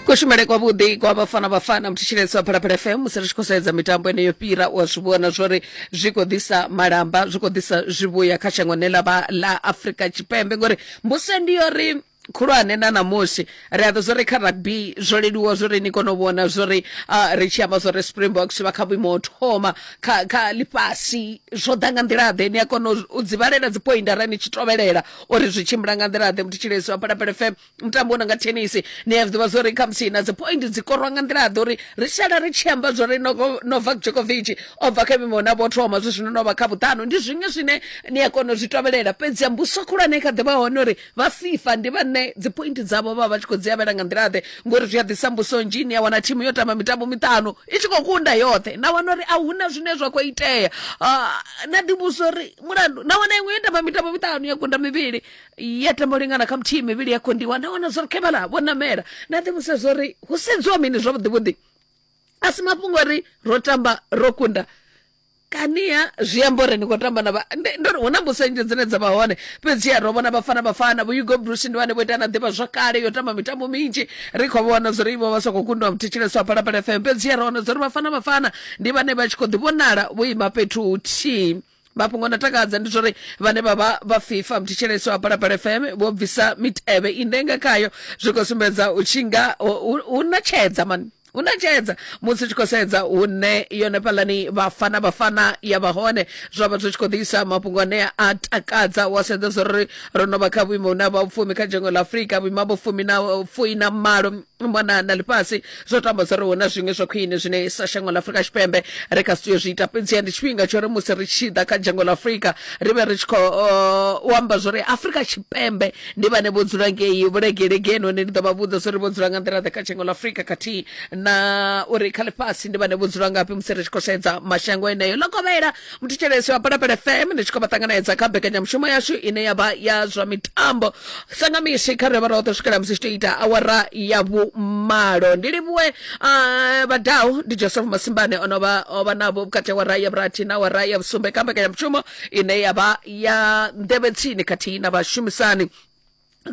Kushumele kwavhuḓi kwa Bafana Bafana muthetshelesi wa Phalaphala FM musi ri tshi khou sedza mitambo ine yo fhira u a zwi vhona zwori zwi khou ḓisa malamba zwi khou ḓisa zwivhuya kha shango ḽine ḽa vha ḽa Afrika Tshipembe ngori mbuso ndi yori khulwane na ṋamusi ri a ḓo zwori kha rugby zwo leluwa zwori ni kone u vhona zwori uh, ri tshi amba zwori Springboks vha kha vhuimo ho thoma kha kha ḽifhasi zwo ḓa nga nḓila ḓe ni a kona u dzi vhalela dzi point arali ni tshi tovhelela uri zwi tshimbila nga nḓila ḓe muthetshelesi wa Phalaphala FM mutambo u no nga thenisi ni a zwi ḓivha zwori khamusi na dzi point dzi korwa nga nḓila ḓe uri ri sala ri tshi amba zwori Novak Djokovic o bva kha vhuimo na vho thoma zwi zwino no vha kha vhuṱanu ndi zwiṅwe zwine ni a kona u zwi tovhelela fhedzi mbuso khulwane kha ḓivha hone uri vha FIFA ndi vhane dzi point dzavho vha vha tshi khou dzi avhela nga nḓila ḓe ngori zwi a ḓisa mbuso nnzhi ni a wana thimu yo tamba mitambo miṱanu i tshi khou kunda yoṱhe na wana uri a huna zwine zwa khou itea na ḓivhusa uri mulandu na wana iṅwe yo tamba mitambo miṱanu ya kunda mivhili ya tamba u lingana kha muthihi mivhili ya kondiwa na wana zwori khevhala vho namela na ḓivhusa zwori hu sedziwa mini zwavhuḓi vhuḓi a si mafhungo uri ro tamba ro kunda kaniha zwi amba uri ni khou tamba na ndo ri hu na mbuso nnzhi dzine dza vha hone fhedziha ro vhona vhafana vhafana vho hugo bruce ndi vhane vho ita na ḓivha zwakale yo tamba mitambo minzhi ri khou vhona zwori vho vha sa khou kundiwa muthetshelesi wa phalaphala fm fhedziha ro wana zwori vhafana vhafana ndi vhane vha tshi khou ḓi vhonala vho ima fhethu huthihi mafhungo na takadza ndi zwori vhane vha vha vha fifa muthetshelesi wa phalaphala fm vho bvisa mitevhe ine nga khayo zwi khou sumbedza u tshinga hu na tshedza mani hu na tshedza musi tshi khou sedza hune yone fhalani vhafana vhafana ya vha hone zwa vha zwi tshi khou ḓisa mafhungo ane a takadza wa sedza zwori ro no vha kha vhuimo hune ha vha vhufumi kha dzhango ḽa afurika vhuimo ha vhufumi na fui na malo mona na ḽifhasi zwo tamba zwa uri hu na zwiṅwe zwa khwine zwine sa shango ḽa afurika tshipembe ri kha si tea zwi ita fhedziha ndi tshifhinga tsho uri musi ri tshi ḓa kha dzhango ḽa afurika ri vhe ri tshi khou u amba zwori afurika tshipembe ndi vhane vho dzula ngei vhulegelegeni hone ndi ḓo vha vhudza zwori vho dzula nga nḓila ḓe kha dzhango ḽa afurika khathihi na uri kha ḽifhasi ndi vhane vho dzula ngafhi musi ri tshi khou sedza mashango eneyo ḽo kovhela muthetshelesi wa Phalaphala FM ndi tshi khou vha ṱanganedza kha mbekanyamushumo yashu ine ya vha ya zwa mitambo sa nga misi kha ri vha roṱhe swikela musi tshi tou ita awara ya vhumalo ndi livhuwe uh, vhadau ndi Joseph Masimbane o no vha o vha navho vhukati awara ya vhurathi na awara ya vhusumbe kha mbekanyamushumo ine ya vha ya nḓevhe tsini khathihi na vhashumisani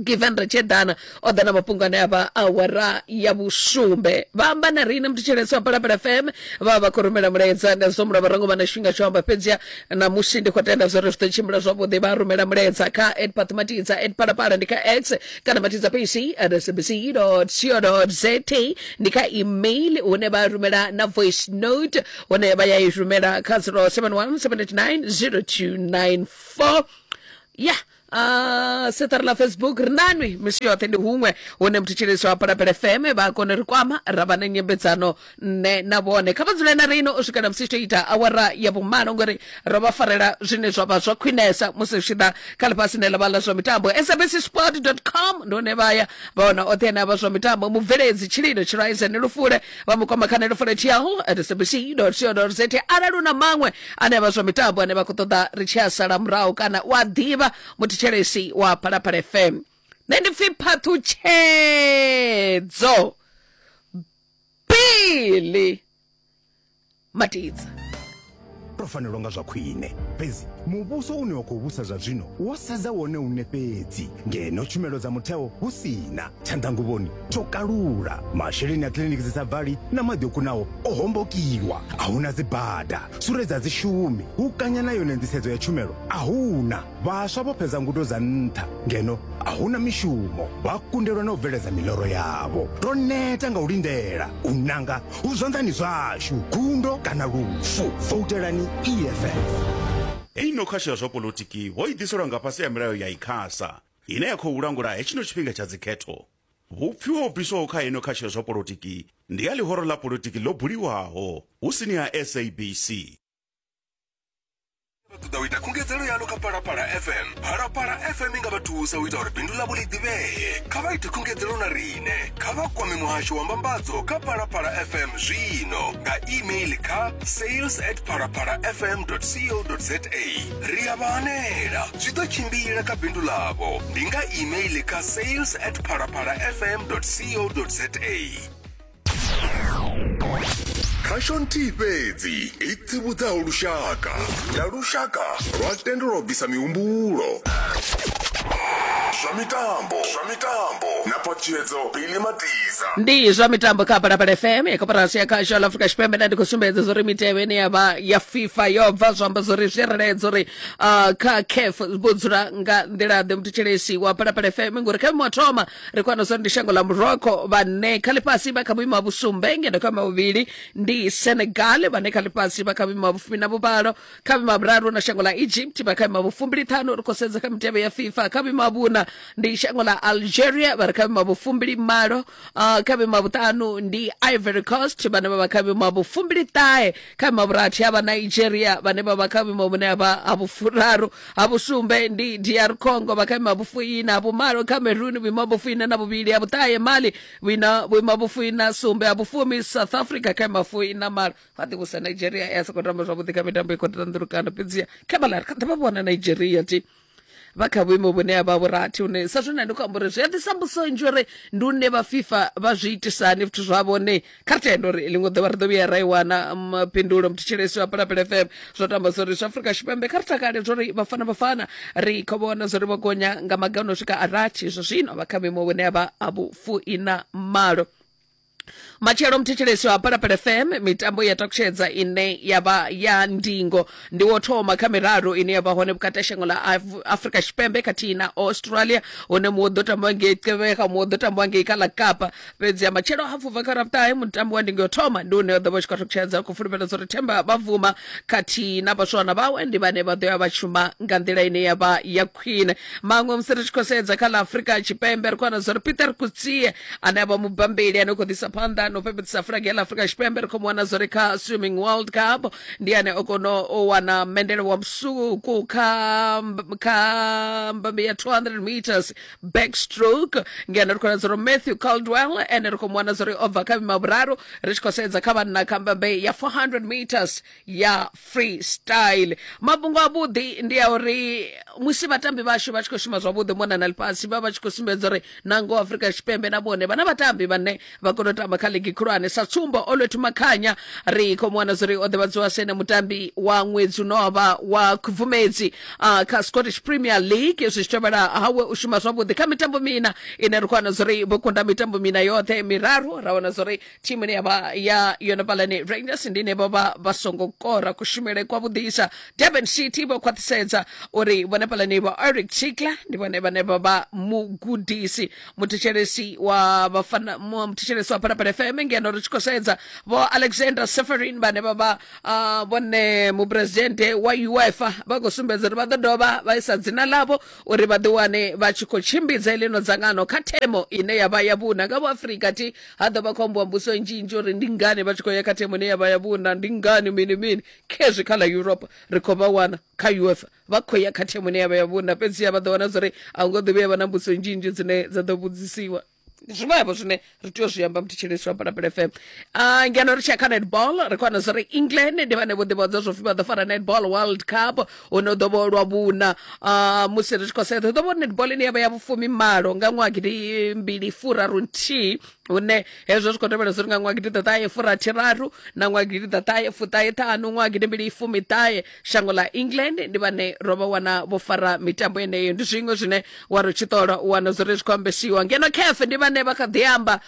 given ri tshi eḓana o ḓa na mafhungo ane a vha awara ya vhusumbe vha amba na riṋe muthetshelesi wa Phalaphala FM vha vha khou rumela mulaedza nda zwo mulovha ro ngo vha na tshifhinga tsho amba fhedziha ṋamusi ndi khou tenda zwori zwi ḓo tshimbila zwavhuḓi vha rumela mulaedza kha at Matidza at Phalaphala ndi kha X kana Matidza PC at sabc co za ndi kha email hune vha rumela na voice note hune vha ya i rumela kha 071 789 0294 ya Uh, seṱari ḽa facebook ri nanwi misi yoṱhe ndi huṅwe hune muthetshelesi wa Phalaphala FM vha kone ri kwama ra vha na nyambedzano nṋe na vhone kha vha dzule na rino u swikela musi tshi ita awara ya vhumalo ngori ro vha farela zwine zwa vha zwa khwinesa musi zwi tshi ḓa kha ḽifhasi ne ḽa vha ḽa zwa mitambo sabcsport com ndi hune vha ya vha wana oṱhe ane a vha zwa mitambo mubveledzi tshililo tshiraisen lufule vha mu kwama kha nelufule tl at sabc co za arali u na maṅwe ane a vha zwa mitambo ane vha khou ṱoḓa ri tshi a sala murahu kana u a ḓivha muthetshelesi wa Phalaphala FM nṋe ndi pfi phaṱhutshedzo Billy Matidza ro fanelwa nga zwa khwine fhedzi muvhuso une wa khou vhusa zwa zwino wo sedza wone une fhedzi ngeno tshumelo dza mutheo hu sina tshanḓanguvhoni tsho kalula masheleni a kiḽiniki dzi sa bvali na maḓi o kunaho o hombokiwa a huna dzibada sure dza dzi shumi hu kanya na yone nḓisedzo ya tshumelo a huna vhaswa vho fhedza ngudo dza nṱha ngeno a huna mishumo vha kundelwa na u bveledza miloro yavho ro neta nga u lindela u nanga hu zwanḓani zwashu gundo kana lufu voutelani eff Heino khasho ya zwa polotiki vho i ḓiselwa nga fhasi ha milayo ya ICASA ine ya khou langula hetshino tshifhinga tsha dzikhetho. Vhupfiwa ho bviswaho kha ino khasho ya zwa polotiki ndi ha ḽihoro ḽa polotiki ḽo buliwaho hu sini ha SABC. Vha ṱoḓa u ita khungedzelo yaḽo kha Phalaphala FM. Phalaphala FM i nga vha thusa u ita uri bindu ḽavho ḽi ḓivhee. Kha vha ite khungedzelo na riṋe. Kha vha kwame muhasho wa mbambadzo kha Phalaphala FM zwino nga email kha sales at phalaphalafm co za. Ri a vha hanela. Zwi ḓo tshimbila kha bindu ḽavho. Ndi nga email kha sales at phalaphalafm co za. Khasho nthihi fhedzi i tsivhudzaho lushaka na lushaka lwa tendelwa u bvisa mihumbulo. Zwa mitambo, zwa mitambo na phaṱhutshedzo Billy Matiza. Ndi zwa mitambo kha Phalaphala FM ya koporasi ya khasho la Afrika Tshipembe. Nda ndi khou sumbedza zwa uri mitevhe ine ya vha ya FIFA yo bva, zwa amba zwa uri zwi reledza uri kha CAF vho dzula nga nḓila ḓe. Muthetshelesi wa Phalaphala FM, ngori kha vhuimo ha thoma ri khou wana zwa uri ndi shango ḽa Morocco vhane kha ḽifhasi vha kha vhuimo ha vhusumbe, ngeno kha vhuimo ha vhuvhili ndi Senegal vhane kha ḽifhasi vha kha vhuimo ha vhufumi na vhuvhalo. Kha vhuimo ha vhuraru na shango ḽa Egypt vha kha vhuimo ha vhufumbili ṱhanu. Ri khou sedza kha mitevhe ya FIFA, kha vhuimo ha vhuna ndi shango ḽa Algeria vha re kha vhuimo ha vhufumbili malo. Kha vhuimo ha vhuṱanu ndi Ivory Coast vhane vha vha kha vhuimo ha vhufumbili ṱahe. Kha vhuimo ha vhurathi ha vha Nigeria vhane vha vha kha vhuimo vhune ha vha ha vhufuraru. Ha vhusumbe ndi DR Congo vha kha vhuimo ha vhufuiṋa. Ha vhumalo Cameroon vhuimo ha vhufuiṋa na vhuvhili. Ha vhuṱahe Mali vhuimo ha vhufuiṋa sumbe. Ha vhufumi South Africa kha vhuimo ha fuiṋa malo. Vha ḓivhusa Nigeria ya sokou tamba zwavhuḓi kha mitambo i khou ṱanḓulukana, fhedziha kha vhaḽa ri kha ḓi vha vhona Nigeria ti vha kha vhuimo vhune ha vha vhurathi, hune sa zwine ndi khou amba uri zwi a ḓisa mbuso nnzhi uri ndi une vha FIFA vha zwi itisani zwithu zwavho. Ne kha ri tende uri ḽiṅwe ḓuvha ri ḓo vhuya ra i wana phindulo. Muthetshelesi wa Phalaphala FM, zwo tamba zwa uri zwa Afrika Tshipembe kha ri takale zwa uri Bafana Bafana ri khou vhona zwa uri vho gonya nga maga o no swika a rathi zwa zwino, vha kha vhuimo vhune ha vha ha vhufuiṋa malo. Matshelo muthetshelesi wa Phalaphala FM, mitambo ya takutshedza ine ya vha ya ndingo ndi wo thoma kha miraru ine ya vha hone vhukati ha shango ḽa Afrika Tshipembe khathihi na Australia, hune muṅwe u ḓo tambiwa ngei Gqeberha, muṅwe u ḓo tambiwa ngei kha ḽa Kapa. Fhedzi ya matshelo hafu bva kha Ravhuṱahe, mutambo wa ndingo yo thoma ndi une wa ḓo vha u tshi khou takutshedza. Khou fulufhela uri Themba Bavuma khathihi na vhaswana vhawe ndi vhane vha ḓo ya vha shuma nga nḓila ine ya vha ya khwine. Maṅwe musi ri tshi khou sedza kha ḽa Afrika Tshipembe, ri khou wana zwa uri Peter Kutsie ane a vha mubambeli ane u khou ḓisa phanḓa na u fhefheḓisa fulage ya ḽa Afrika Tshipembe, ri khou mu wana zwori kha Swimming World Cup ndi ane o kona u wana mendele wa musuku kha mbambe ya 200 meters backstroke. Ngeno ri khou wana zwori Matthew Caldwell ene ri khou mu wana zwori o bva kha vhuimo ha vhuraru ri tshi khou sedza kha vhanna kha mbambe ya 400 meters ya freestyle. Mafhungo avhuḓi ndi a uri musi vhatambi vhashu vha tshi khou shuma zwavhuḓi mona na ḽifhasi, vha vha tshi khou sumbedza uri nangoho Afrika Tshipembe na vhone vha na vhatambi vhane vha kona u tamba kha ligi khulwane. Sa tsumbo, Olwethu Makhanya ri khou mu wana zwa uri o ḓivhadziwa sa ene mutambi wa ṅwedzi une wa vha wa Khubvumedzi kha Scottish Premier League, zwi tshi tevhela hawe u shuma zwavhuḓi kha mitambo mina ine ri khou wana zwa uri vho kunda mitambo mina yoṱhe miraru. Ra wana zwa uri Thimu ine ya vha ya yone fhaḽani Rangers ndi ine vho vha vha songo kora kushumele kwa vhuḓisa. Durban City vho khwaṱhisedza uri vhone fhaḽani vho Eric Chikla ndi vhone vhane vha vha mugudisi. Muthetshelesi wa vhafana muthetshelesi wa Phalaphala FM, ngeno ri tshi khou sedza vho Alexander Seferin vhane vha vha vhone muphuresidennde wa UEFA vha khou sumbedza uri vha ḓo dovha vha isa dzina ḽavho uri vha ḓiwane vha tshi khou tshimbidza heḽino dzangano kha themo ine ya vha ya vhuna nga vho Afrika thi ha ḓo vha khou ambiwa mbudziso nnzhi nnzhi uri ndi ngani vha tshi khou ya kha thimu ine ya vha ya vhuna, ndi ngani mini mini. Khezwi kha ḽa Europe ri khou vha wana kha UEFA vha khou ya kha thimu ine ya vha ya vhuna, fhedziha vha ḓo wana zwori a hu ngo ḓo vhuya vha na mbudziso nnzhi nnzhi dzine dza ḓo vhudzisiwa. Ndi zwiṅwevho zwine ri tea u zwi amba muthetshelesi wa Phalaphala FM. Ngeno ri tshi ya kha netball, ri khou wana zwori England ndi vhane vho ḓivhadza zwo pfi vha ḓo fara netball World Cup hune u ḓo vha lwa vhuna. Musi ri tshi khou sedza hu ḓo vha netball ine ya vha ya vhufumi malo nga ṅwaha gidi mbili furaru nthihi, hune hezwo zwi khou tevhela zwori nga ṅwaha gidi ḓaṱahe furathi raru na ṅwaha gidi ḓaṱahe fuṱahe ṱhanu ṅwaha gidi mbili fumi ṱahe shango ḽa England ndi vhane ro vha wana vho fara mitambo yeneyo. Ndi zwiṅwe zwine wa ri tshi ṱola u wana zwori zwi khou ambesiwa. Ngeno CAF ndi vhane vha kha ḓi amba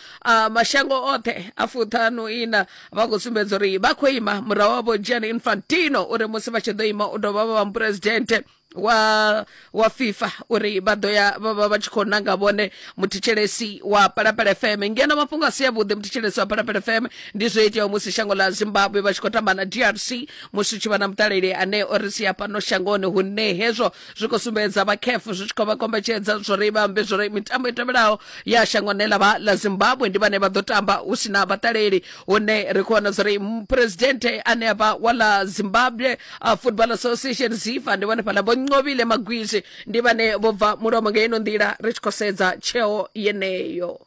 mashango oṱhe a fuṱhanu ina vha khou sumbedza uri vha khou ima murahu ha vho Gianni Infantino uri musi vha tshi ḓo ima u dovha vha vha muphuresidennde wa FIFA uri vha ḓo ya vha vha vha tshi khou nanga vhone. Muthetshelesi wa Phalaphala FM, ngeno mafhungo a si avhuḓi muthetshelesi wa Phalaphala FM ndi zwo iteaho musi shango ḽa Zimbabwe vha tshi khou tamba na DRC, musi hu tshi vha na muṱaleli ane o ri sia fhano shangoni, hune hezwo zwi khou sumbedza vha CAF zwi tshi khou vha kombetshedza zwori vha ambe zwori mitambo i tevhelaho ya shango ḽine ḽa vha ḽa Zimbabwe ndi vhane vha ḓo tamba hu si na vhaṱaleli, hune ri khou wana zwori muphuresidennde ane a vha wa ḽa Zimbabwe Football Association ZIFA ndi vhone fhaḽa vho Nqobile Magwizi ndi vhane vho bva mulomo nga ino nḓila ri tshi khou sedza tsheo yeneyo.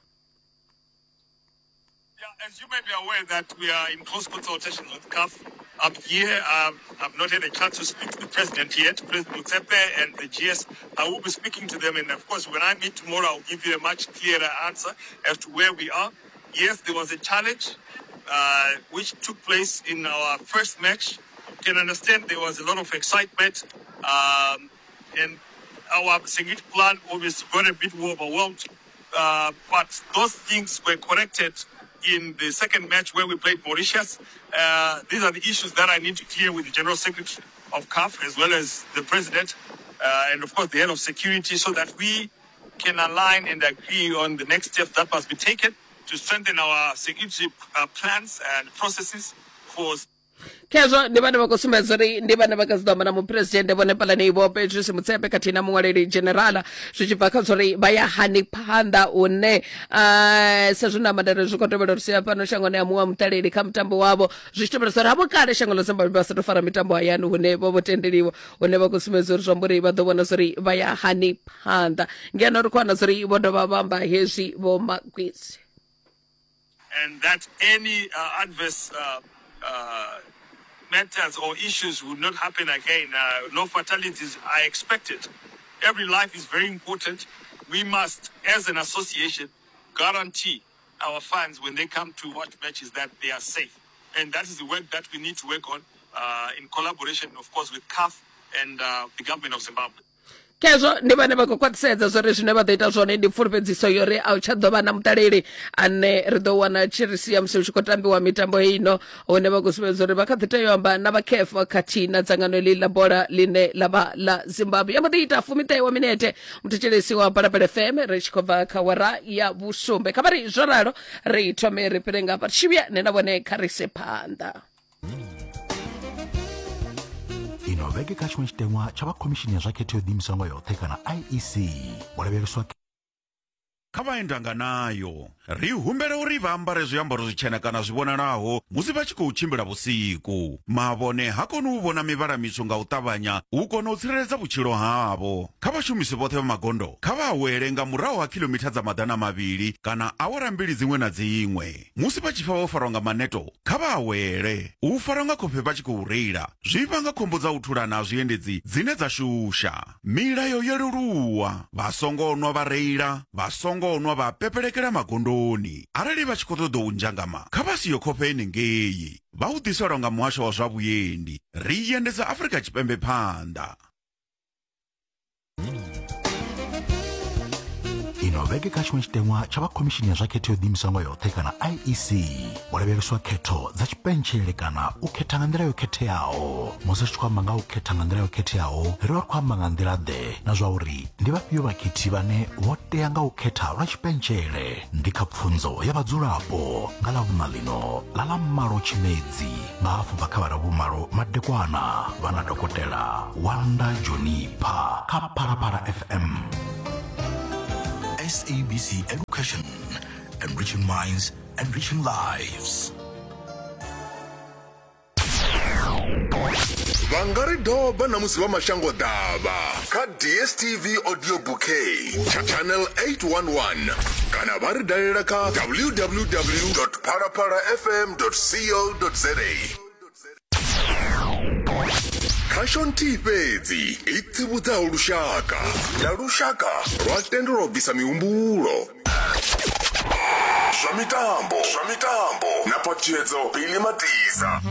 Yeah, as you may be aware that we are in close consultations with CAF. Up here, I've not had a chance to speak to the president yet, President Motsepe and the GS. I will be speaking to them, and of course, when I meet tomorrow, I'll give you a much clearer answer as to where we are. Yes, there was a challenge which took place in our first match. You can understand there was a lot of excitement, and Our security plan obviously got a bit overwhelmed, uh, but those things were corrected in the second match where we played Mauritius. Uh, these are the issues that I need to clear with the General Secretary of CAF as well as the President uh, and, of course, the head of security so that we can align and agree on the next steps that must be taken to strengthen our security uh, plans and processes for Khezwo ndi vhane vha khou sumbedza uri ndi vhane vha kha dzi ḓo amba na muphuresidennde vhone Phalane Vho Patrice Motsepe khathihi na muṅwaleli dzhenerala zwi tshi bva kha zwa uri vha ya hani phanḓa hune uh, sa zwi na mandare zwi khou tevhela uri sia fhano shangoni ya muṅwe wa muṱaleli kha mutambo wavho zwi tshi tevhela uri havho kale shango ḽa Zimbabwe vha sa tou fara mitambo hayani hune vho vho tendeliwa hune vha khou sumbedza uri zwi amba uri vha ḓo vhona zwa uri vha ya hani phanḓa ngeno ri khou wana zwa uri vho dovha vha amba hezwi vho Magwizi and that any uh, adverse uh, uh, matters or issues would not happen again. Uh, no fatalities are expected. Every life is very important. We must, as an association, guarantee our fans when they come to watch matches that they are safe. And that is the work that we need to work on uh, in collaboration, of course, with CAF and uh, the government of Zimbabwe. Khezwo ndi vhane vha khou khwaṱhisedza zwori zwine vha ḓo ita zwone ndi pfulufhedziso yo ri a u tsha ḓo vha na muṱaleli ane ri ḓo wana tshi ri sia musi hu tshi khou tambiwa mitambo ino hune vha khou sumbedza uri vha kha ḓi tea u amba na vha CAF khathihi na dzangano iḽi ḽa bola ḽine ḽa vha ḽa Zimbabwe. Ya mbo ḓi ita fumiṱahe wa minete muthetshelesi wa Phalaphala FM ri tshi khou bva kha wara ya vhusumbe. Kha vha ri zwo ralo ri thome ri fhire nga hafha ri tshi vhuya nṋe na vhone kha ri ise phanḓa. Ino vhege kha tshiṅwe tshiteṅwa tsha vha khomishini ya zwa khetho yo ḓiimisaho nga yoṱhe kana IEC vho lavheleswa Kha vhaendanganayo, ri humbela uri vha ambare zwiambaro zwitshena kana zwi vhonalaho musi vha tshi khou tshimbila vhusiku. Mavhone ha koni u vhona mivhala mitswu nga u ṱavhanya u kona u tsireledza vhutshilo havho. Kha vhashumisi vhoṱhe vha magondo, kha vha awele nga murahu ha khilomitha dza 200 kana awara mbili dziṅwe na dziṅwe. Musi vha tshi pfa vho farwa nga maneto, kha vha awele. U farwa nga khofhe vha tshi khou reila zwi vhanga khombo dza u thulana ha zwiendedzi dzine dza shusha. Milayo yo leluwa, vha songo nwa vha reila, vha songo nwa vha pepelekela magondoni. Arali vha tshi khou ṱoḓa u nzhangama, kha vha siye khofhe henengei. Vha u ḓiselwa nga Muhasho wa zwa Vhuendi. Ri endedza Afrika Tshipembe phanḓa. Ino vhege kha tshiṅwe tshiteṅwa tsha vha khomishini ya zwa khetho yo ḓiimisaho nga yoṱhe kana IEC vho lavheleswa khetho dza tshipentshele kana u khetha nga nḓila yo khetheaho. Musi ri tshi khou amba nga u khetha nga nḓila yo khetheaho ri vha ri khou amba nga nḓila ḓe na zwa uri ndi vhafhio vhakhethi vhane vho tea nga u khetha lwa tshipentshele ndi kha pfunzo ya vhadzulapo nga Ḽavhuṋa ḽino ḽa ḽa malo Tshimedzi nga hafu bva kha vha vhumalo madekwana vha na dokotela Wanda Jonipha kha Phalaphala FM. SABC Education, enriching minds, enriching lives. Vha nga ri doba na musi vha mashango ḓavha kha DSTV audio bouquet channel 811 kana vha ri dalela kha www phalaphalafm co za. Khasho nthihi fhedzi i tsivhudzaho lushaka na lushaka lwa tendelwa u bvisa mihumbulo. Zwa mitambo, zwa mitambo na phaṱhutshedzo Billy Matisa.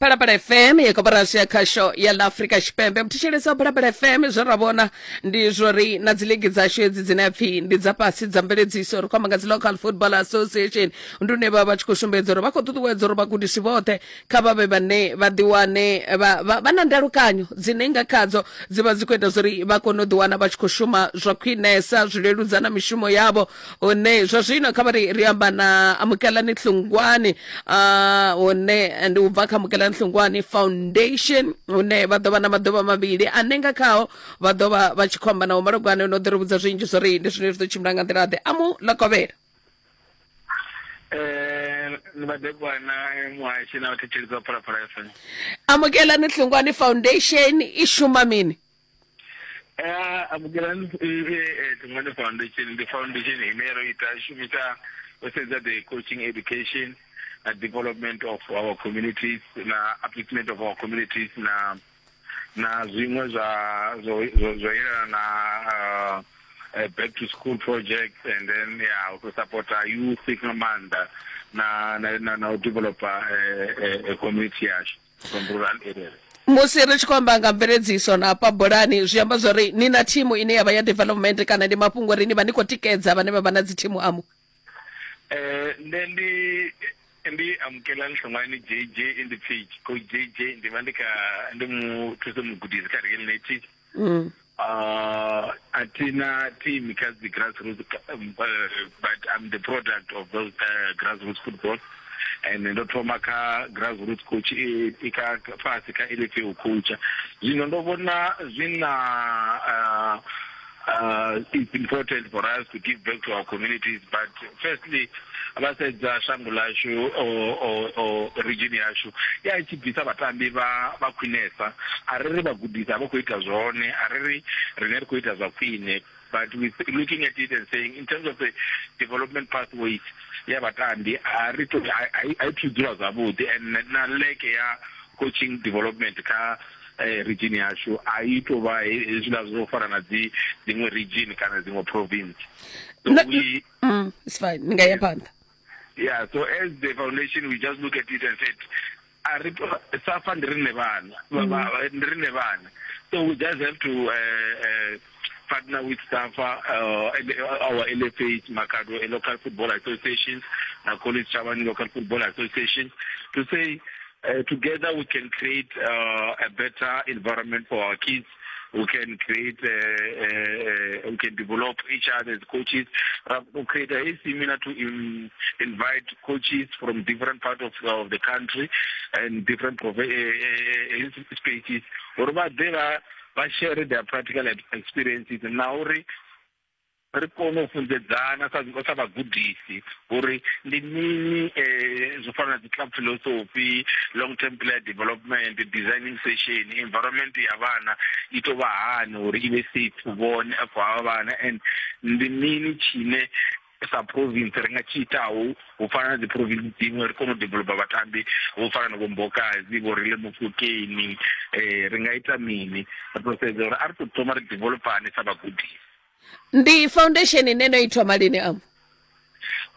Phalaphala FM ya koporasi ya khasho ya ḽa Afrika Tshipembe. Muthetshelesi wa Phalaphala FM zwe ra vhona ndi zwori na dzi ligi dzashu hedzi dzine pfhi ndi dza fhasi dza mveledziso ri khou amba nga dzi local football association ndi hune vha vha tshi khou sumbedza uri vha khou ṱuṱuwedza uri vhagudisi vhoṱhe kha vha vhe vhane vha ḓiwane vha, vha, vha na ndalukanyo dzine nga khadzo dzi vha dzi khou ita zwori vha kone u ḓiwana vha tshi khou shuma zwa khwinesa zwi leludza na mishumo yavho hune zwa zwino kha vha ri ri amba na Amukelani Hlungwani uh, hune ndi u bva kha Amukelani Hlungwani Foundation hune vha ḓo vha na maḓuvha mavhili ane nga khao vha ḓo vha vha tshi khou amba na Vho Malogwane no ḓo ri vhudza zwinzhi zwori ndi zwine zwi ḓo tshimbila nga nḓila ḓe amu ḽa kovhela Eh, ndi madekwana eh, muhashi na vhathetshelesi vha Phalaphala FM. Amukelani Hlungwani Foundation i shuma mini? Eh, Amukelani Hlungwani Foundation ndi foundation ine ro ita shumisa u sedza the coaching education na development of our communities na upliftment of our communities na na zwiṅwe zwa zwo zwo yelana na uh, back to school projects and then yeah u supporta youth nga maanḓa na na na, na u developa uh, uh, community yashu. from rural areas. Musi ri tshi khou amba nga mveledziso na hafha bolani zwi amba zwori ni na thimu ine ya vha ya development kana ndi mafhungo uri ni vha ni khou tikedza vhane vha vha na dzi thimu amu? Eh nṋe ndi ndi Amukelani Hlongwane JJ in the page coach JJ ndi vha ndi kha ndi muthusa mugudisi kha Real Native. Mm. Uh, a thi na team kha dzi grassroots um, uh, but I'm the product of those uh, grassroots football and ndo thoma kha grassroots coach i i kha fhasi kha LFA u coacha zwino ndo vhona zwi na uh, uh, it's important for us to give back to our communities but firstly vha sedza shango ḽashu o region yashu ya i tshi bvisa vhatambi vha vha khwinesa a ri ri vhagudisi a vha khou ita zwone a ri ri riṋe ri khou ita zwa khwine but we looking at it and saying in terms of the development pathways ya vhatambi a ri to a i thu dzula zwavhuḓi and na leke ya coaching development kha eh, region yashu a i tou vha hezwiḽa zwo fana na dzi dziṅwe region kana dziṅwe province so we, mm, it's fine ni nga ya phanḓa yeah so as the foundation we just look at it and said a ri safa ndi rine vhana mm. ndi rine vhana so we just have to uh, uh, partner with SAFA, uh, and our LFA, Makhado, a local football associations, na College Chavani local football association, to say uh, together we can create uh, a better environment for our kids. We can create, uh, uh, we can develop each other as coaches. Uh, we create a seminar to in, invite coaches from different parts of, of the country and different uh, spaces. Uri vha ḓe vha vha share their practical experiences na uri ri kone u funzedzana sa sa vhagudisi uri ndi mini eh, zwo fana na dzi club philosophy long term player development designing session environment ya vhana i to vha hani uri i vhe safe vhone for havha vhana and ndi mini tshine sa province ri nga tshi itaho u fana na dzi province dziṅwe ri kone u developa vhatambi vho fana na vho Mbokazi vho Rile Mofokeng eh ri nga ita mini ri to sedza uri a ri to thoma ri developane sa vhagudisi Ndi foundation ine no i thoma lini am?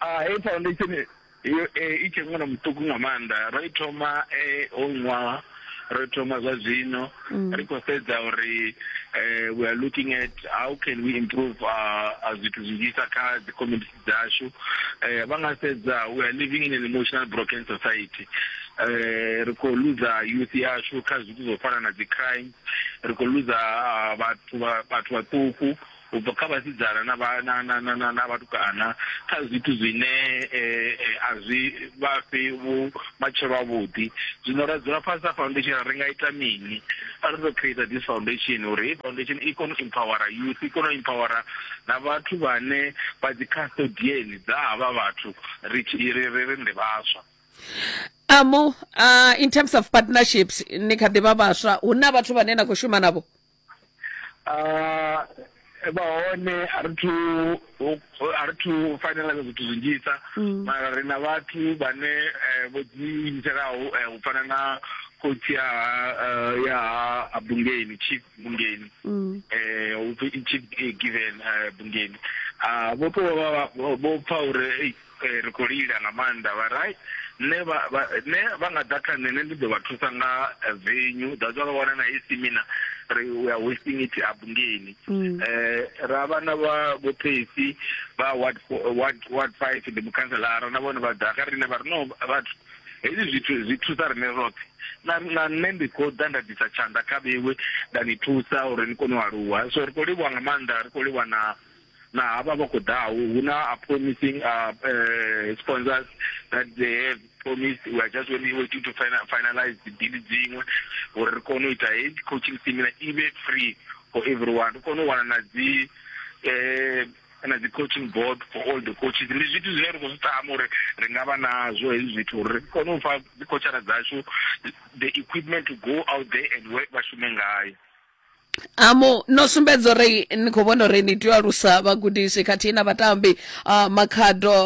Ah, heyi foundation yo eh, i tshe ṅwana muṱuku nga maanḓa ro i thoma eh, ho ṅwaha ro i thoma zwa zwino mm. ri khou sedza uri eh, we are looking at how can we improve uh, uh, zwithu zwinzhisa kha dzi community dzashu eh, vha nga sedza we are living in an emotional broken society eh, ri khou luza youth yashu kha zwithu zwo fana na dzi crime ri khou luza ah, vhathu vhathu vhaṱuku u bva kha vhasidzana na vha na na na na, na vhatukana kha zwithu zwine eh, eh, a zwi vha fhi vhu matshelo avhuḓi zwino ra dzula fhasi sa foundation ri nga ita mini a ri ḓo create this foundation uri heyi foundation i kone u empowera youth i kone u empowera na vhathu vhane vha dzi custodian dza havha vhathu ri tshi ri ri ndi vhaswa Amu, uh, in terms of partnerships ni kha ḓi vha vhaswa hu na vhathu vhane na khou shuma navho uh, vha hone a ri thu a ri thu finalize zwithu zwinzhisa mm. mara ri na vhathu vhane eh, vho ḓiimiselaho eh, u fana na khotsi ya eh, ya ha Bungeni Chief Bungeni mm. eh u pfi Chief Given Bungeni ah vho to vha vho pfa uri Eh, ri khou lila nga maanḓa vha ri nṋe vha nṋe vha nga ḓa kha nṋe nṋe ndi ḓo vha thusa nga eh, venue that's why vha wana na hei seminar ri we are wasting it abungeni mm. eh ra vha na vha vho Phesi vha ward ward ward 5 ndi mukhanselara na vhone vha ḓa kha riṋe vha ri no vhathu hezwi zwithu zwi thusa riṋe roṱhe na na nṋe ndi khou ḓa nda ḓisa tshanḓa kha vhewe nda ni thusa uri ni kone u aluwa so ri khou livhuwa nga maanḓa ri khou livhuwa na na havha vha khou ḓaho hu na a promising uh, uh, sponsors that they have promised we are just waiting, waiting to final, finalize the deal dziṅwe uri ri kone u ita heyi coaching seminar i vhe free for everyone ri kone u wana na dzi eh, na dzi coaching board for all the coaches ndi zwithu zwine ri khou zwi tama uri ri nga vha nazwo hezwi zwithu uri ri kone u fha dzi coachara dzashu the equipment to go out there and work vha shume ngayo Amu no sumbedza uri ni khou vhona uri ni tea u alusa vhagudisi khathihi na vhatambi uh, Makhado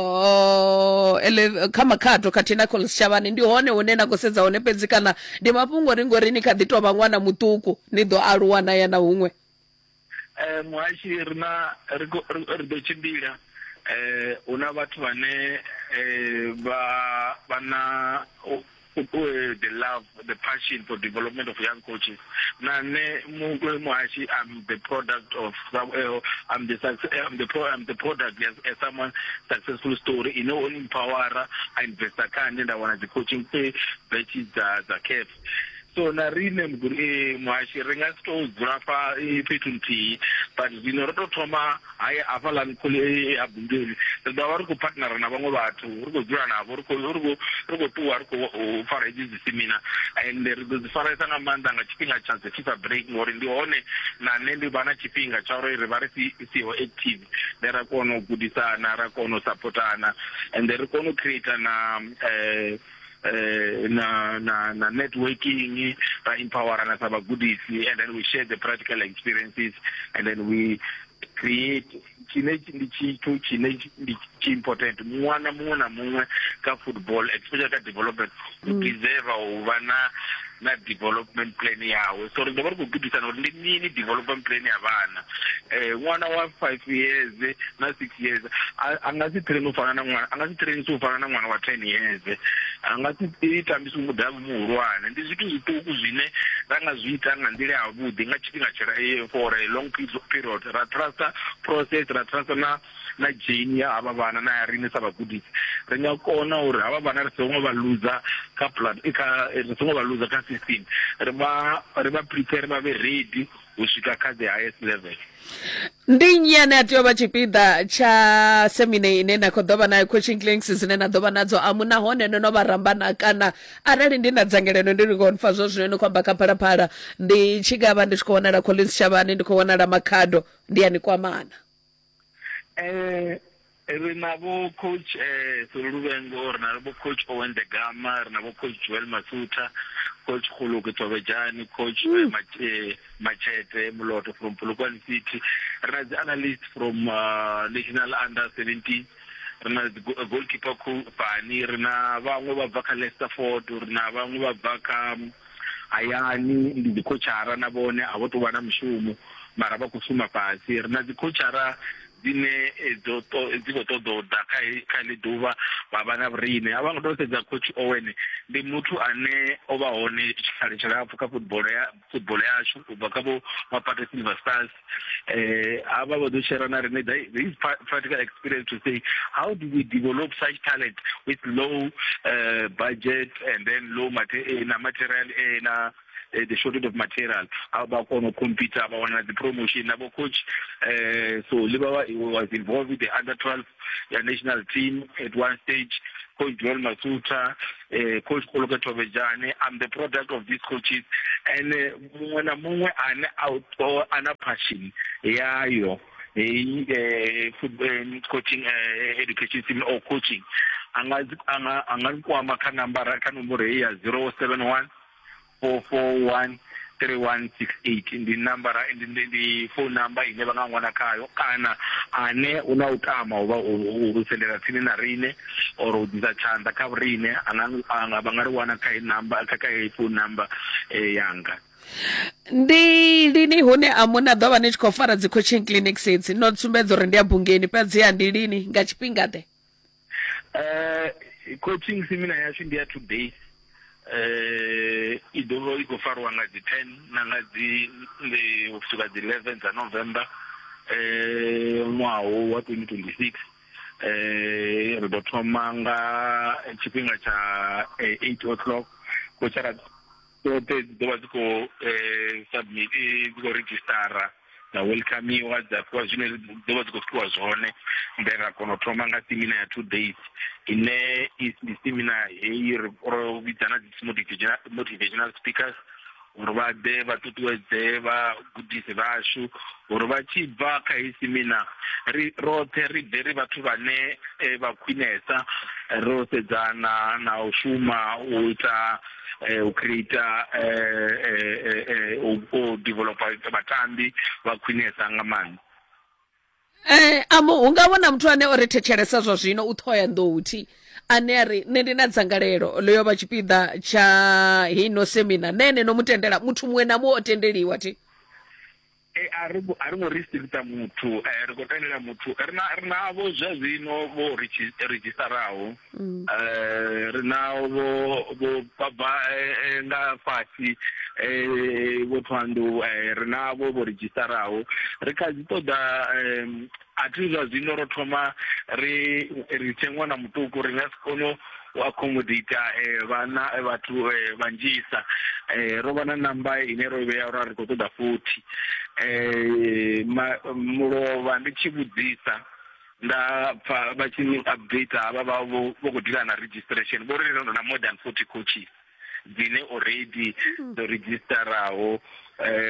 uh, ele, kha Makhado khathihi na Collins Chavani ndi hone hune na khou sedza hone fhedzi kana ndi mafhungo ri ngori ni kha ḓi tou vha ṅwana muṱuku ni ḓo aluwa na ya na huṅwe? Eh, muhashi ri na ri ḓo tshimbila eh hu na vhathu vhane eh, vha vha na the love, the passion for development of young coaches. Na nṋe muhashi, I'm the product of I'm the I'm the pro, I'm the product as, as someone successful story ine o empowera a investa kha nṋe nda wana dzi coaching batches dza dza CAF. So na riṋe muhashi ri nga si tou dzula fha fhethu nthihi, but zwino ro tou thoma haya hafhaḽani ha Bungeni, ri ḓo vha ri khou partnera na vhaṅwe vhathu, ri khou dzula navho, ri khou ri khou ri khou ṱuwa ri khou fara hedzi dzi semina, and ri ḓo dzi faresa nga maanḓa nga tshifhinga tsha dzi FIFA break, ngori ndi hone na nṋe ndi vha na tshifhinga tsha uri ri vha ri si siho active, then ra kona u gudisana, ra kona u sapotana, and ri kone u creator na na na na networking, ra empowerana sa vhagudisi, and then we share the practical experiences, and then we create tshine ndi tshithu tshine ndi tshi important. Ṅwana muṅwe na muṅwe kha football, especially kha development, u deserve u vha na na development plan yawe. So ri ḓo vha ri khou gudisana uri ndi mini development plan ya vhana. Ṅwana wa 5 years na 6 years a nga si train u fana na ṅwana, a nga si train u fana na ṅwana wa 10 years, a nga si tambisi mudavhi muhulwane. Ndi zwithu zwiṱuku zwine ra nga zwi ita nga nḓila ya vhuḓi nga tshifhinga tshila for a long period, ra trusta process, ra trusta na na journey ya havha vhana na ya riṋe sa vhagudisi. Ri nga kona uri havha vhana ri songo vha luza kha plan, kha ri songo vha luza kha system, ri vha ri vha prepare vha vhe ready u swika kha the highest level. Ndi nnyi ane a tea u vha tshipiḓa tsha semine ine na khou ḓo vha nayo, coaching clinics dzine na ḓo vha nadzo amu, nahone no no vha rambana? Kana arali ndi na dzangalelo ndi ri pfa zwo zwino ni khou amba kha Phalaphala, ndi tshi nga vha ndi tshi khou wanala Collins Chavhani, ndi khou wanala Makhado, ndi a ni kwamana? Ri na vho coach Soluluvengo, ri na vho coach Owen de Gama, ri na vho coach Joel Masutha, coach Khuluke Thobejani, coach Machete Muloto from Polokwane City, ri na dzi analyst from National Under 17, ri na dzi goalkeeper Fani, ri na vhaṅwe vha bva kha Leicester Ford, ri na vhaṅwe vha bva kha hayani, ndi dzi coachara na vhone a vho tou vha na mushumo mara vha khou shuma fhasi. Ri na dzi coachara dzine dzo dzi khou ṱoḓa u ḓa kha kha ḽi ḓuvha vha vha na vhuriṋe. A vha ngo tou sedza coach Owen, ndi muthu ane o vha hone tshikhala tshilapfhu kha football ya football yashu u bva kha vho Mapate Silver Stars. Havha vha ḓo share na riṋe his practical experience to say how do we develop such talent with low budget and then low na material, na the shortage of material, a vha kona u compete, vha wana dzi promotion. Na vho coach so Liba was involved with the under 12 ya national team at one stage, coach Joel Masuta, coach Koloke Thobejane. I'm the product of these coaches, and muṅwe na muṅwe ane a na passion yayo heyi coaching education system or coaching, anga anga anga kwama kha nambara kha nomboro heyi ya 071 441 3168. Ndi nambara, ndi ndi phone number ine vha nga ṅwana khayo, kana ane u na u tama u vha u sendela tsini na riṋe or u ḓisa tshanḓa kha riṋe, anga vha nga ri wana kha number kha kha phone number yanga. Ndi lini hune a muna ḓo vha ni tshi khou fara dzi coaching clinics idzi? No sumbedza uri ndi a Bungeni, fhedziha ndi lini, nga tshifhinga ḓe? Coaching seminar yashu ndi ya 2 days, i ḓo vha i khou farwa nga dzi 10 na nga dzi u swika dzi 11 dza November ṅwaha wa 2026. Ri ḓo thoma nga tshifhinga tsha 8 o'clock. Kochara dzoṱhe dzi ḓo vha dzi khou submit, dzi khou redzhistara, dza welcomeiwa, dza fhiwa zwine dzi ḓo vha dzi khou fhiwa zwone, then ra kona u thoma nga seminar ya 2 days ine ndi seminar heyi ro vhidza na dzi motivational speakers uri vha ḓe vha ṱuṱuwedze vhagudisi vhashu uri vha tshi bva kha heyi seminar ri roṱhe ri bve ri vhathu vhane vha khwinesa, ro sedzana na u shuma u ita u create, u developa vhatambi vha khwinesa nga maanḓa. Amu hu nga vhona muthu ane o ri thetshelesa zwa zwino u Ṱhohoyanḓou thi, ane a ri nṋe ndi na dzangalelo ḽo yo vha tshipiḓa tsha hino semina, nṋe ene no mu tendela? Muthu muṅwe na muṅwe o tendeliwa thi? A ri a ri ngo restricta muthu, ri khou tendela muthu. Ri na ri navho zwa zwino vho ridzhistaraho, ri na vho vho vha bva nga fhasi vho Thohoyandou, ri navho vho ridzhistaraho. Ri kha ḓi ṱoḓa a thi zwa zwino ro thoma ri ri tshe ṅwana muṱuku ri nga si kone u accommodate vhana vhathu vhanzhisa. Ro vha na namba ine ro vhea uri ri khou ṱoḓa 40. Mulovha ndi tshi vhudzisa nda pfa vha tshi ni update havha vha vho vho khou deala na registration vho ri ri na more than 40 coaches dzine already dzo redzhistaraho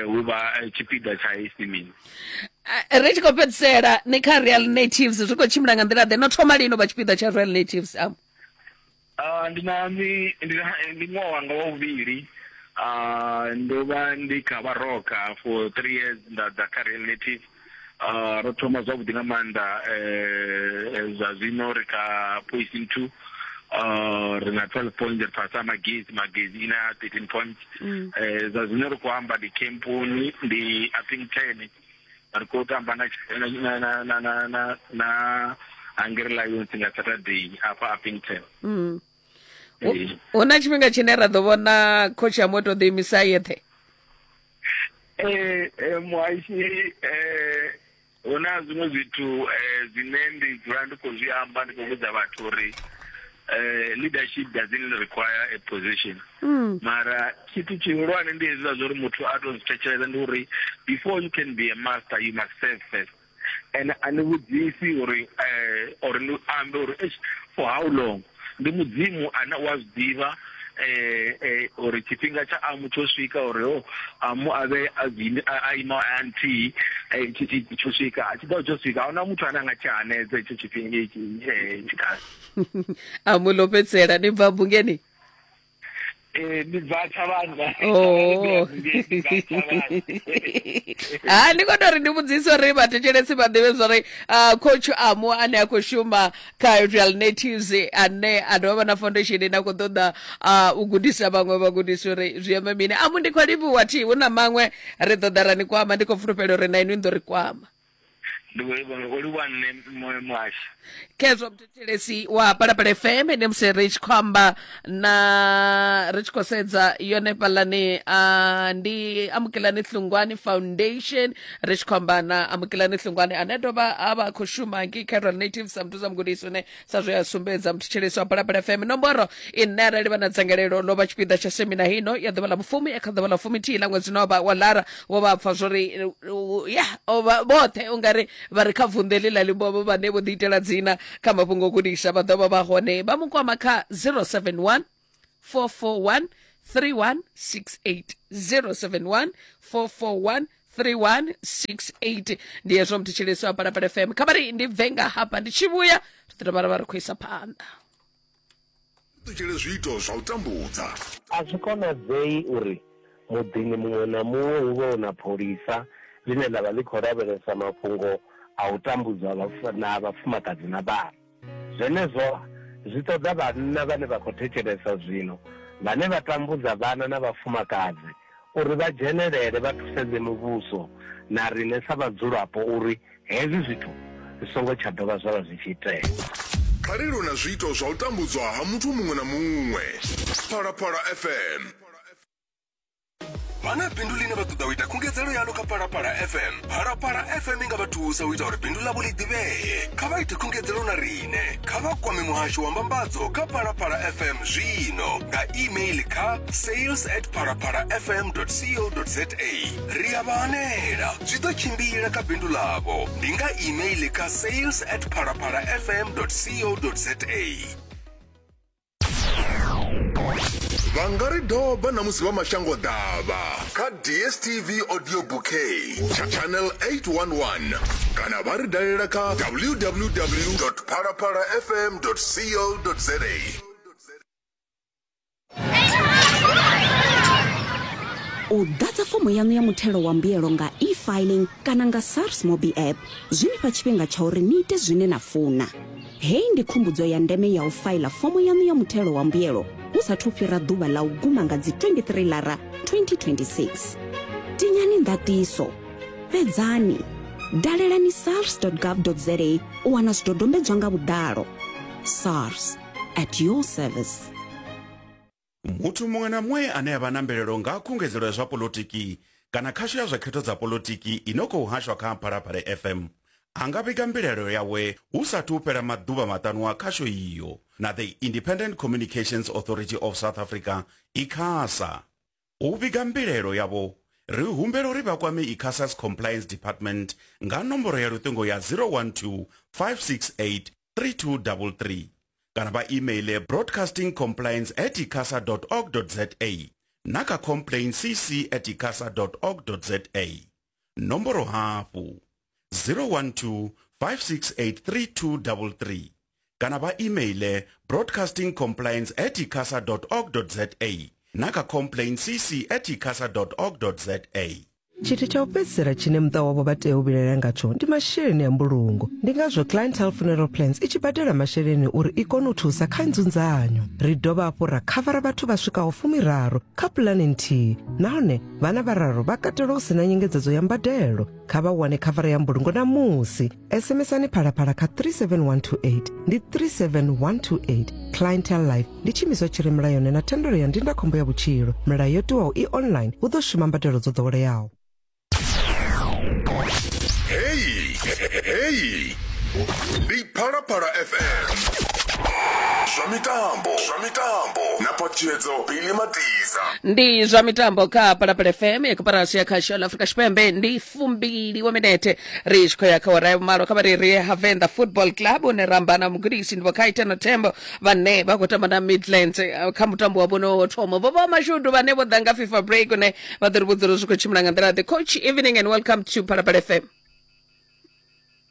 hu vha tshipiḓa tsha heyi. Ri tshi khou fhedzisela ni kha Real Natives, zwi khou tshimbila nga nḓila ḓe? No thoma lini u vha tshipiḓa tsha Real Natives am? Ndi na ndi ndi ṅwaha wanga wa vhuvhili, ndo vha ndi kha Baroka for 3 years nda ḓa kha Real Natives. Ro thoma zwavhuḓi nga maanḓa, zwa zwino ri kha position 2, ri na 12 points, ri fhasi ha Magesi, Magesi ina 13 points. Zwa zwino ri khou amba ndi camponi ndi I think 10, ri khou tamba na na na na na na na Hungry Lions nga Saturday afha Upington. Hu na tshifhinga tshine ra ḓo vhona coach ya moto ḓi imisa yeṱhe? Muhashi, hu na zwiṅwe zwithu zwine ndi dzula ndi khou zwi amba, ndi khou vhudza vhathu uri leadership doesn't require a position. Mara tshithu tshihulwane ndi hezwiḽa zwa uri muthu a to zwi thetshelesa, ndi uri before you can be a master you must serve first. And a ni vhudzisi uri or ni ambe uri eish for how long, ndi mudzimu ane u a zwi ḓivha uri tshifhinga tsha amu tsho swika uri ho amu avhe a ima a nthihi tsho swika, tshi ḓo tsho swika, ahuna muthu ane a nga tshi hanedza itsho tshifhinga tshikhala. Amu ḽo fhedzisela ni bva bungeni? Ndi bva Thavhani. Oh. Ha ndi khou tou ri ndi vhudzise uri vhathetshelesi vha ḓivhe zwori coach Amu ane a khou shuma kha Real Natives ane a dovha vha na foundation ine a khou ṱoḓa u gudisa vhaṅwe vhagudisi uri zwi amba mini. Amu ndi khou livhuwa thi hu na maṅwe ri ḓo ḓa ra ni kwama, ndi khou fulufhela uri na inwi ni ḓo ri kwama. Ndi khou livhuwa nṋe muhashi. Khezwo muthetshelesi wa Phalaphala FM ndi musi ri tshi khou amba na ri tshi khou sedza yone fhalani ndi Amukelani Hlungwani Foundation, ri tshi khou amba na Amukelani Hlungwani ane dovha a vha khou shuma ngei kha Real Natives sa muthu sa mugudisi une sa zwe a sumbedza. Muthetshelesi wa Phalaphala FM, nomboro ine arali vha na dzangalelo ḽo vha tshipiḓa tsha semina hino ya ḓuvha ḽa vhufumi kha ḓuvha ḽa fumithihi ḽa ṅwedzi no vha wa Lara, vho vha pfa zwori ya vhoṱhe ungari vha re kha vunḓu heḽi ḽa Limpopo vhane vho ḓiitela dzina kha mafhungo o gudisa vha ḓo vha vha hone. Vha mu kwama kha 071 441 3168, 071 441 3168. Ndi hezwo muthetshelesi wa Phalaphala FM, kha vha ri ndi bve nga hafha ndi tshi vhuya ri ḓo dovha ra vha ri khou isa phanḓa. Ṱutshele zwiito zwa u tambudza. A zwi konadzei uri muḓini muṅwe na muṅwe hu vhe hu na pholisa ḽine ḽa vha ḽi khou lavhelesa mafhungo a u tambudzwa na vhafumakadzi na vhana. Zwenezwo zwi ṱoḓa vhanna vhane vha khou thetshelesa zwino, vhane vha tambudza vhana na vhafumakadzi, uri vha dzhenelele vha thusedze muvhuso na riṋe sa vhadzulapo uri Hezwi zwithu zwi songo tsha dovha zwa vha zwi tshi itea. Kha ri lwe na zwiito zwa u tambudzwa ha muthu muṅwe na muṅwe. Phalaphala FM. Vha na bindu ḽine vha ṱoḓa u ita khungedzelo yaḽo kha Phalaphala FM? Phalaphala FM i nga vha thusa u ita uri bindu ḽavho ḽi ḓivhee. Kha vha ite khungedzelo na riṋe. Kha vha kwame muhasho wa mbambadzo kha Phalaphala FM zwino nga email kha sales at phalaphalafm co za. Ri a vha hanela, zwi ḓo tshimbila kha bindu ḽavho. Ndi nga email kha sales at phalaphalafm co za. Vha nga ri doba na musi vha mashango ḓavha kha DSTV Audio Bouquet channel 811 kana vha ri dalela kha www phalaphalafm co za. U ḓadza fomo yaṋu ya muthelo wa mbuyelo nga eFiling kana nga SARS Mobi app zwi ni fha tshifhinga tsha uri ni ite zwine na funa. Heyi ndi khumbudzo ya ndeme ya u faila fomo yaṋu ya muthelo wa mbuyelo hu sathu fhira ḓuvha ḽa u guma nga dzi 23 Lara 2026. Tinyani ndaṱiso. Fhedzani. Dalelani sars.gov.za u wana zwidodombedzwa nga vhuḓalo. SARS, at your service. Muthu muṅwe na muṅwe ane a vha na mbilaelo nga ha khungedzelo ya zwa poḽotiki kana khasho ya zwa khetho dza poḽotiki i no khou hashwa kha Phalaphala FM a nga vhiga mbilaelo yawe hu sathu u fhela maḓuvha maṱanu a khasho iyo na The Independent Communications Authority of South Africa, ICASA. U vhiga mbilaelo yavho, ri humbela uri vha kwame ICASA's Compliance Department nga nomboro ya luṱingo ya 012 568 3233 kana vha imeiḽe broadcastingcompliance at icasa org za na kha complaintcc at icasa org za. Nomboro hafhu 012 568 3233 kana vha imeiḽe broadcastingcompliance at icasa org za na kha complaintcc at icasa org za. Tshithu tsha u fhedzisela tshine muṱa wavho vha tea u vhilaela ngatsho ndi masheleni a mbulungo. Ndi ngazwo Clientele Funeral Plans i tshi badela masheleni uri i kone u thusa kha nzunzanyo. Ri dovha hafhu ra khavara vhathu vha swikaho fumiraru kha pulane nthihi nahone vhana vhararu vha katelwa hu si na nyengedzedzo ya mbadelo. Kha vha wane khavara ya mbulungo ṋamusi. SMSani Phalaphala kha 37128 ndi 37128. Clientele Life ndi tshiimiswa tshi re mulayoni na thendelo ya ndindakhombo ya vhutshilo. Milayo yo tiwaho i online hu ḓo shuma mbadelo dzo ḓoweleaho. Heyi heyi ndi Phalaphala FM. Zwa mitambo, zwa mitambo na Phaṱhutshedzo Billy Matiza. Ndi zwa mitambo kha Phalaphala FM ya koporasi ya khasho la Afrika Tshipembe. Ndi fumbili wa minete ri tshi khou ya kha awara ya vhumalo. Kha vha ri ri Havenḓa Football Club une ra amba na mugudisi ndi Vho Kaitano Tembo vhane vha khou tamba na Midlands eh, kha mutambo wa vhono wo thoma. Vho vha mashudu vhane vho ḓa nga FIFA break une vha ḓo ri vhudza uri zwi khou tshimbila nga nḓila ḓe. Coach, evening and welcome to Phalaphala FM.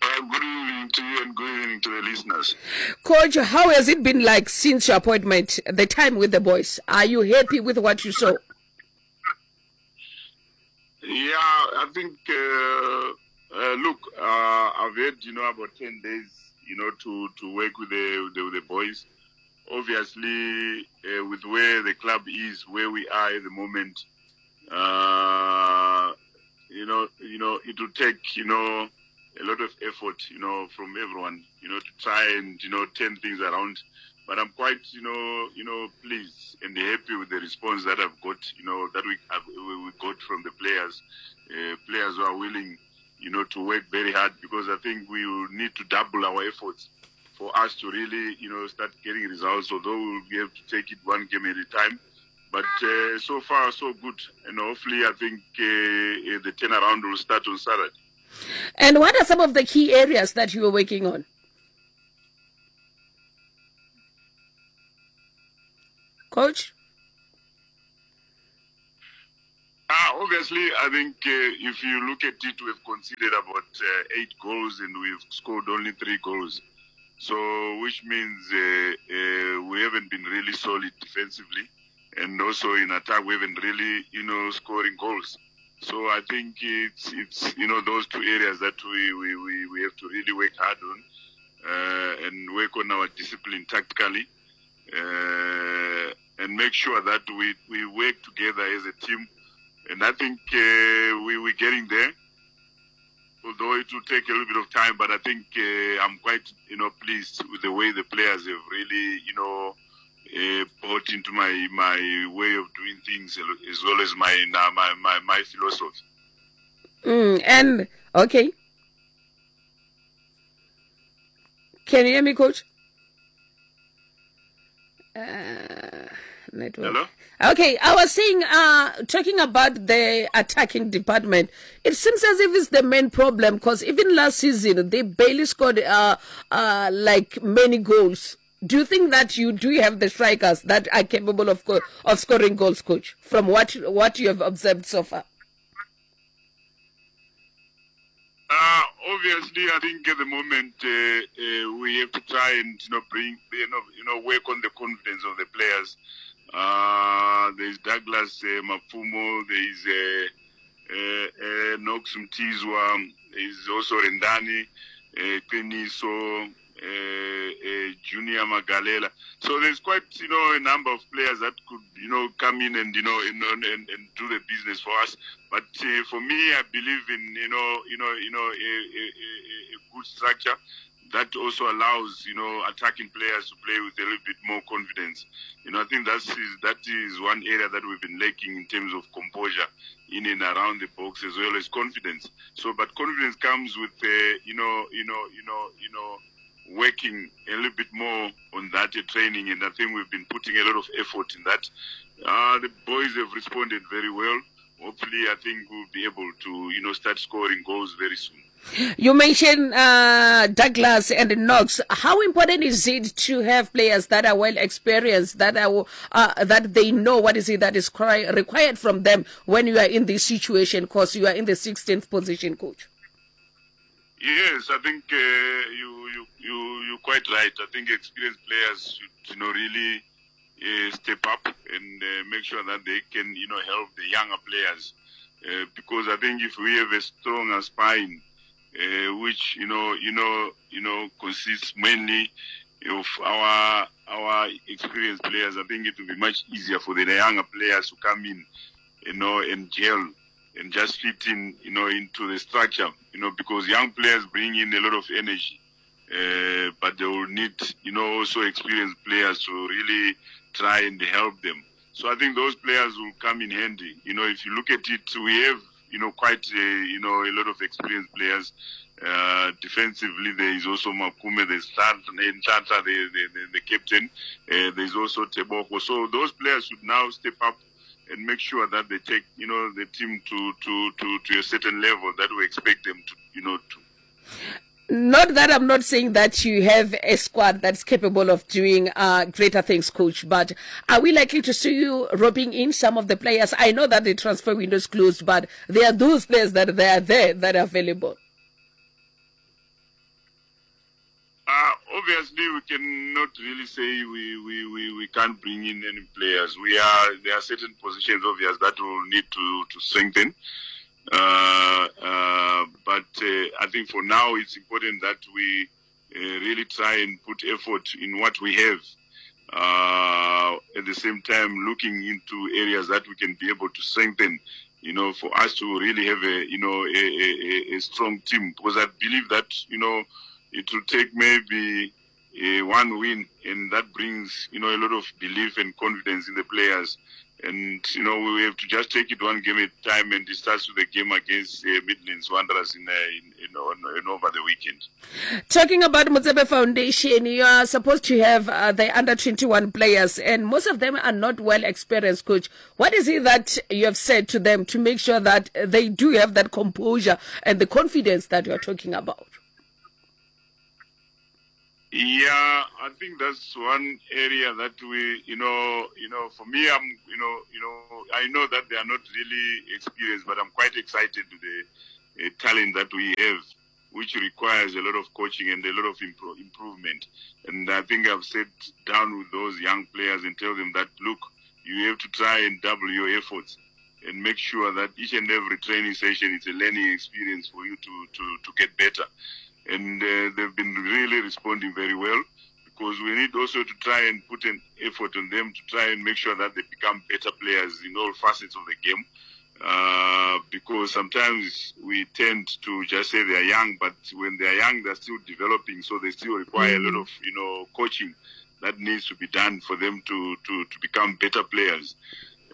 Good evening to you and good evening to the listeners. Coach, how has it been like since your appointment, the time with the boys? Are you happy with what you saw? Yeah, I think, look, I've had, you know, about 10 days, you know, to work with the boys. Obviously, with where the club is, where we are at the moment, it will take, you know, a lot of effort, you know, from everyone, you know, to try and, you know, turn things around. But I'm quite, pleased and happy with the response that I've got, you know, that we have, we got from the players, players who are willing, you know, to work very hard, because I think we will need to double our efforts for us to really, you know, start getting results, although we'll be able to take it one game at a time. But so far, so good. And hopefully, I think the turnaround will start on Saturday. And what are some of the key areas that you are working on? Coach? Obviously, I think if you look at it, we've conceded about 8 goals and we've scored only 3 goals. So, which means we haven't been really solid defensively. And also in attack, we haven't really, you know, scoring goals. So I think it's you know, those two areas that we have to really work hard on and work on our discipline tactically and make sure that we work together as a team. And I think we're getting there, although it will take a little bit of time. But I think I'm quite, you know, pleased with the way the players have really, you know, bought into my way of doing things as well as my philosophy. And okay, can you hear me, Coach? Network. Hello? Okay, I was saying, talking about the attacking department, it seems as if it's the main problem, because even last season they barely scored like many goals. Do you think that you do have the strikers that are capable of scoring goals, Coach, from what you have observed so far? Obviously, I think at the moment we have to try and, you know, bring, you know, work on the confidence of the players. There is Douglas Mafumo, there is Nox Mtizwa, there is also Rendani, Keniso, Junior Magalela. So there's quite, you know, a number of players that could, you know, come in and, you know, and, and, and do the business for us. But for me, I believe in, you know, you know, you know, a, a, a, a good structure that also allows, you know, attacking players to play with a little bit more confidence. You know, I think that is, that is one area that we've been lacking in terms of composure in and around the box as well as confidence. So, but confidence comes with, you know, you know, you know, you know, working a little bit more on that training, and I think we've been putting a lot of effort in that. The boys have responded very well. Hopefully, I think we'll be able to, you know, start scoring goals very soon. You mentioned Douglas and Knox. How important is it to have players that are well experienced, that are that they know what is it that is required from them when you are in this situation? Because you are in the 16th position, coach. Yes, I think you you you you're quite right. I think experienced players should you know really step up and make sure that they can you know help the younger players because I think if we have a stronger spine, which you know you know you know consists mainly of our our experienced players, I think it will be much easier for the younger players to come in, you know, and gel and just fit in, you know, into the structure, you know, because young players bring in a lot of energy, but they will need, you know, also experienced players to really try and help them. So I think those players will come in handy. You know, if you look at it, we have, you know, quite a, you know, a lot of experienced players. Defensively, there is also Makume, there's Tata, the, the, the, the captain. There's also Tebogo. So those players should now step up and make sure that they take, you know, the team to, to, to, to a certain level that we expect them to, you know, to. Not that I'm not saying that you have a squad that's capable of doing greater things, coach, but are we likely to see you roping in some of the players? I know that the transfer window is closed, but there are those players that they are there that are available. Obviously, we cannot really say we, we, we, we can't bring in any players. We are there are certain positions, obvious, that will need to, to strengthen. But I think for now it's important that we really try and put effort in what we have. At the same time, looking into areas that we can be able to strengthen, you know, for us to really have a, you know, a, a, a strong team. Because I believe that, you know, it will take maybe one win, and that brings, you know, a lot of belief and confidence in the players. And, you know, we have to just take it one game at a time, and it starts with the game against Midlands Wanderers in, in, in, on, in over the weekend. Talking about Motsepe Foundation, you are supposed to have the under 21 players, and most of them are not well experienced, coach. What is it that you have said to them to make sure that they do have that composure and the confidence that you are talking about? Yeah, I think that's one area that we, you know, you know, for me, I'm, you know, you know, I know that they are not really experienced, but I'm quite excited with the talent that we have, which requires a lot of coaching and a lot of improvement. And I think I've sat down with those young players and tell them that, look, you have to try and double your efforts and make sure that each and every training session is a learning experience for you to, to, to get better and they've been really responding very well because we need also to try and put an effort on them to try and make sure that they become better players in all facets of the game. Because sometimes we tend to just say they are young, but when they are young, they're still developing, so they still require a lot of, you know, coaching that needs to be done for them to, to, to become better players.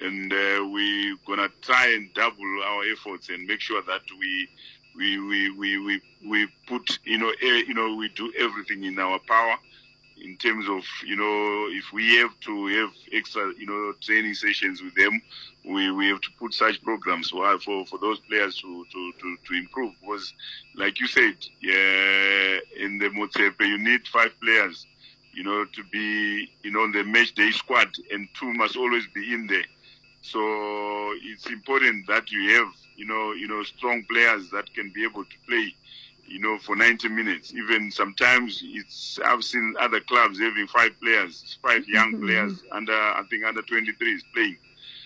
And we're going to try and double our efforts and make sure that we we we we we, we put you know you know we do everything in our power in terms of you know if we have to have extra you know training sessions with them we we have to put such programs for for, for those players to, to to to improve because like you said yeah in the Motsepe you need five players you know to be you know on the match day squad and two must always be in there so it's important that you have you know, you know, strong players that can be able to play, you know, for 90 minutes. Even sometimes it's I've seen other clubs having five players, five young mm-hmm. players under I think under 23 is playing.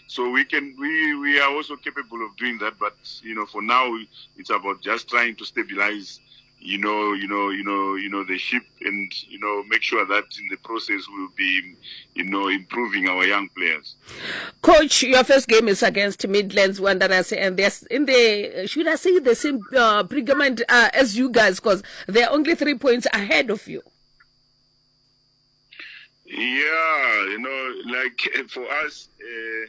So we can we we are also capable of doing that, but you know, for now it's about just trying to stabilize you know, you know, you know, you know, the ship, and you know, make sure that in the process we'll be, you know, improving our young players. Coach, your first game is against Midlands Wanderers, and they're in the should I say the same uh, predicament uh, as you guys, because they're only three points ahead of you. Yeah, you know, like for us, uh,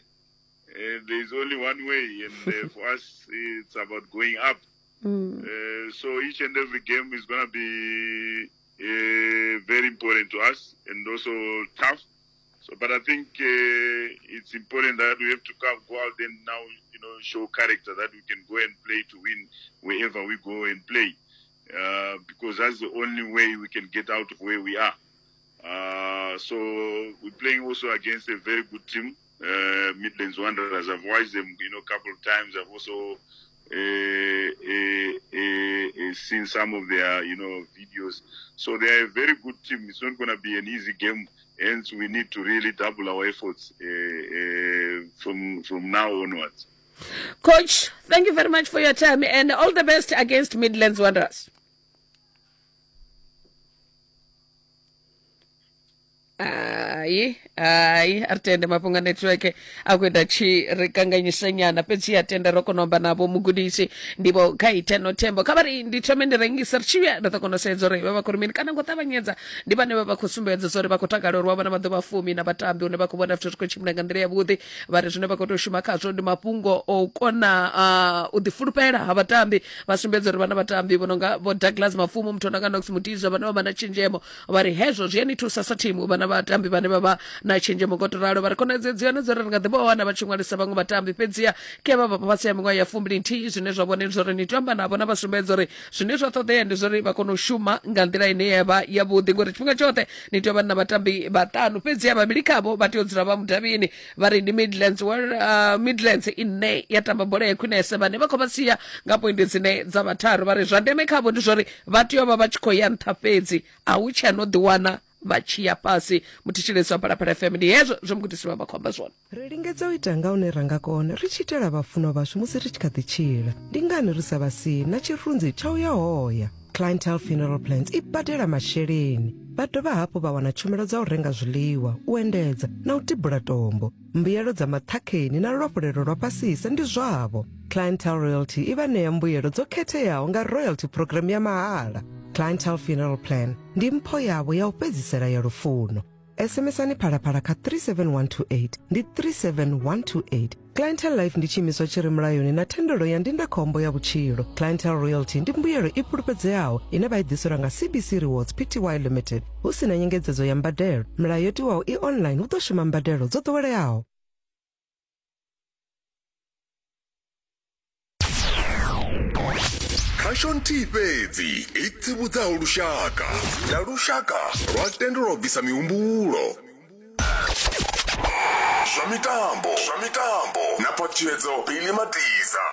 uh, there's only one way, and uh, for us, it's about going up. Mm. Uh, so each and every game is going to be uh, very important to us and also tough. So, but I think uh, it's important that we have to come, go out and now, you know, show character that we can go and play to win wherever we go and play, uh, because that's the only way we can get out of where we are. Uh, so we're playing also against a very good team, uh, Midlands Wanderers. I've watched them, you know, a couple of times. I've also uh, uh, uh, seen some of their, you know, videos. So they are a very good team. It's not going to be an easy game. Hence, we need to really double our efforts from from now onwards. Coach, thank you very much for your time and all the best against Midlands Wanderers. Hai hai a ri tende mafhungo a network a khou ita tshi ri kanganyisa nyana fhedzi ya tenda ro kona u amba navho mugudisi ndi vho kha iteno thembo kha vha ri ndi thome ndi rengisa ri tshi vhuya ri ḓo kona u sedza uri vha vha khou ri mini kana ngo ṱavhanyedza ndi vhane vha vha khou sumbedza zwa uri vha khou takala uri wa vha na maḓuvha a fumi na vhatambi hune vha khou vhona zwithu zwi khou tshimbila nga nḓila yavhuḓi vha ri zwine vha khou tea u shuma khazwo ndi mafhungo o kona uh, u ḓifulufhela ha vhatambi vha sumbedza uri vha na vhatambi vho no nga vho Douglas Mafumo muthu o no nga Knox Mutizwa vhane vha vha na tshenzhemo vha ri hezwo zwi a ni thusa sa thimu u vha na vhatambi vhane vha vha na tshenzhemo ngo to ralo vha ri khonadzeo dzi hone dzo ri ri nga ḓi vha wana vha tshi ṅwalisa vhaṅwe vhatambi fhedziha ke vha vha fhasi ya miṅwaha ya fumbili nthihi zwine zwa vhone ndi zwori ni tea u amba navho na vha sumbedza uri zwine zwa ṱoḓea ndi zwori vha kone u shuma nga nḓila ine ya vha yavhuḓi ngori tshifhinga tshoṱhe ni tea u vha na vhatambi vhaṱanu fhedziha vhavhili khavho vha tea u dzula vha mudavhini vha ri ndi Midlands World, uh, Midlands ine ya tamba bola ya khwinese vhane vha khou vha sia nga poindi dzine dza vha tharu vha ri zwa ndeme khavho ndi zwori vha tea u vha vha tshi khou ya nṱha fhedzi a hu tshe no ḓiwana vha tshi ya fhasi muthetshelesi wa Phalaphala FM ndi hezwo zwe mugudisi vha vha khou amba zwone Ri lingedza u ita nga hune ra nga kona ri tshi itela vhafunwa vhashu musi ri tshi kha ḓi tshila. Ndi ngani ri sa vha sii na tshirunzi tsha u ya hoya? Clientele Funeral Plans i badela masheleni. Vha dovha hafhu vha wana tshumelo dza u renga zwiḽiwa, u endedza na u tibula tombo. Mbuyelo dza maṱhakheni na luafhulelo lwa fhasisa ndi zwavho. Clientele Royalty i vha ṋea mbuyelo dzo khetheaho nga royalty program ya mahala. Clientele Funeral Plan ndi mpho yavho ya u fhedzisela ya lufuno. SMSani phalaphala kha 37128 ndi 37128. Clientele Life ndi tshiimiswa tshi re mulayoni na thendelo ya ndindakhombo ya vhutshilo. Clientele Royalty ndi mbuyelo i fhulufhedzeaho ine vha i ḓiselwa nga CBC Rewards Pty Limited hu si na nyengedzedzo ya mbadelo. Milayo yo tiwaho i online hu ḓo shuma mbadelo dzo ḓoweleaho. Khasho nthihi fhedzi i tsivhudzaho lushaka na lushaka lwa tendelwa u bvisa mihumbulo zwa mitambo zwa mitambo na phaṱhutshedzo Billy Matiza.